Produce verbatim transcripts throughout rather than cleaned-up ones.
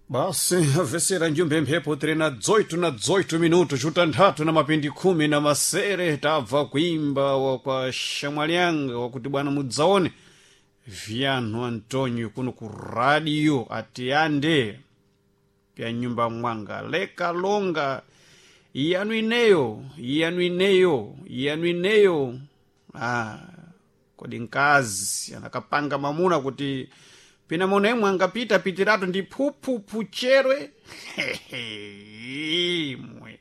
Basi avesera njumbe mphepo tiri na dzoito na dzoito minuto chutanthatu na mapindi khumi na masere tabva kuimba wa kwa shamwalianga wakuti bwana mudzaone vyanu Antonio kuno ku radio atiyande pya nyumba mwanga leka longa iyanu ineyo iyanu ineyo iyanu ineyo ah, kodi nkazi anakapanga mamuna kuti pina muno imwe angapita pitiratu ndi phuphupu cherwe imwe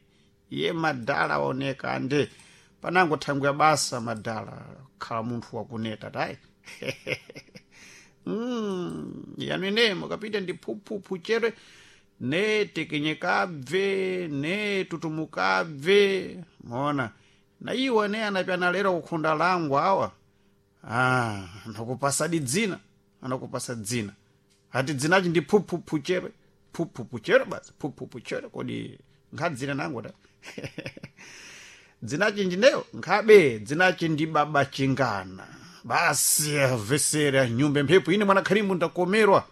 iye madala waoneka ande panango thangwi ya basa madala khala munthu wakuneta tayi mm, yanu ineyo mukapita ndi phuphupu cherwe ne tekenyekabve ne tutumukabve mona na iwo ne anapyana lero kukhunda langu awa ah, anakupasadi dzina anakupasa dzina ati dzinachi ndi phuphupu cherwe phuphupu cherwe basi phuphupu cherwe kodi nkhadzina nangu ta dzinachi ndineyo nkhabe dzinachi ndi baba chingana basi avesera nyumba mphepo ine mwana khalimu ndakomerwa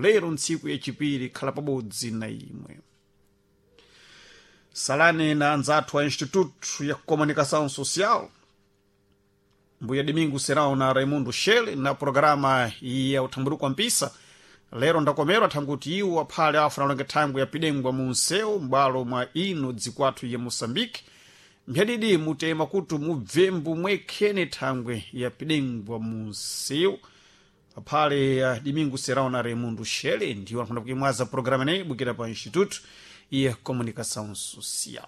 lero ntsiku yachipiri khala pabodzi na imwe salani na anzathu a instituto ya comunicação social mbuya domingo serão na raimundo shele na programa ya uthamburuko mpisa lero ndakomerwa thanguti iwo aphale afuna alonge thangwi yapidengwa mu msewu m'bwalo mwa ino dzikwathu ya moçambique mphyadidi mutema kuti mubvembu mwekhene thangwe yapidengwa mu msewu aphale ya domingo serão na raimundo shele ndiwo anafuna kuimwaza programa ineyi ibukira pa instituto ya comunicação social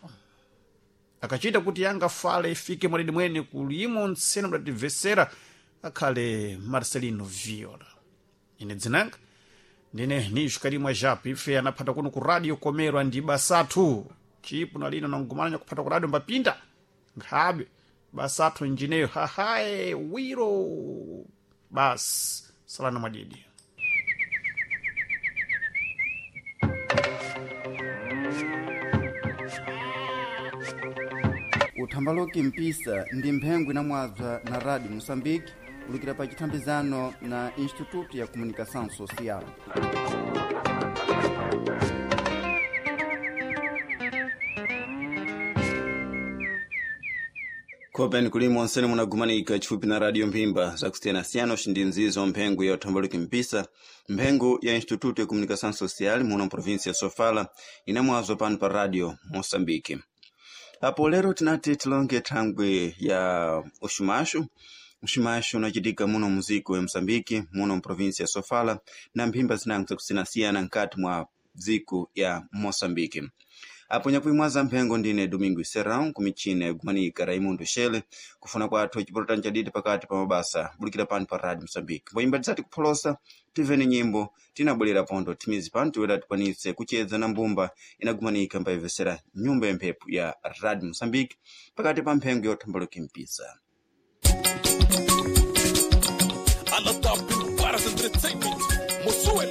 akachita kuti yangafale ifike mwadidi mwene kulimo ntsena mdatimvesera akhale marcelino viola ine dzinanga ndine nixukalimwa japo ife anaphata kuno ku radio komerwa ndi basathu chipo nalino nangumanya kuphata ku radio mbapinda nkhabe basathu njineyo hahae wiro basi salana mwadidi uthambaloki mpisa ndi mphengo inamwabza na radio moçambique kulukira pa chithambizano na instituto ya comunicação social khopeni kulimo onsene munagumanika chifupi na radio mphimba zakusiyanasiyana ndi nzizo mphengo ya uthambaluki mpisa mphengo ya instituto ya comunicação social muno província ya sofala inamwazwa pano pa radio moçambique apo lero tinati tilonge thangwi ya uxumaxu uxumaxu unacitika muno muziko ya moçambique muno mprovíncia ya sofala na mphimba zinango zakusiyanasiyana nkati mwa dziko ya moçambique apo nyakuimwaza mphengo ndine domingo serrão kumichina yagumanika raimundo shele kufuna kwathu chipolotani chadidi pakati pa mabasa bulukira pano pa radio moçambique mboyimba tisati kupholosa tivene nyimbo tinabwerera pondo timizi pano tiwera tikwanitse kuchedza na mbumba inagumanika mbayivesera nyumba ya mphepo ya radio moçambique pakati pa mphengo ya uthambaluki mpisa Ala Top Paras Entertainment, Mosuel.